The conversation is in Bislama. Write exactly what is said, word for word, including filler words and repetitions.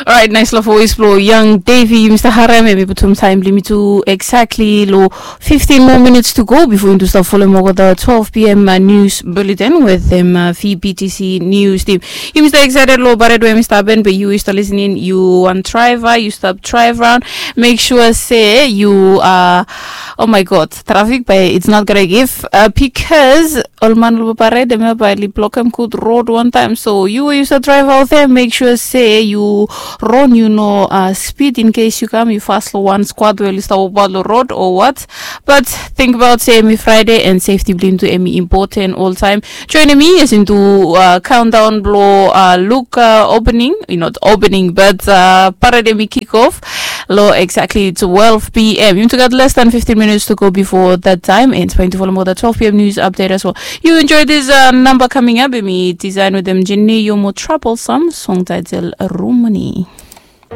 Alright, nice love voice blo young Davy. Yumi stap harem, yumi putum taem blong yumi tu exactly lo fifteen more minutes to go before yumi stap folem olgeta twelve p.m. Uh, news bulletin with them uh, V B T C news team. Yumi stap excited lo baret we yumi stap happen, but you stap listening, you want driver, you stap drive around. Make sure say you uh, oh my god, traffic by it's not gonna give uh, because ol man lo baret dem by li blokem good road one time. So you we you stap drive out there, make sure say you run you know uh, speed in case you come you fast lo one squad we li stap oba lo road or what. But think about say emi Friday and safety blong yumi tu emi important all time. Join emi as yumi tu uh, countdown blo uh, look uh, opening, not opening, but uh, baret emi kick off lo exactly twelve p.m. Yumi tu gat less than fifteen minutes to go before that time, and it's going to follow more the twelve p.m. news update as well. You enjoy this uh, number coming up, emi design with them Jenny Yomo Troublesome, song title Rumani.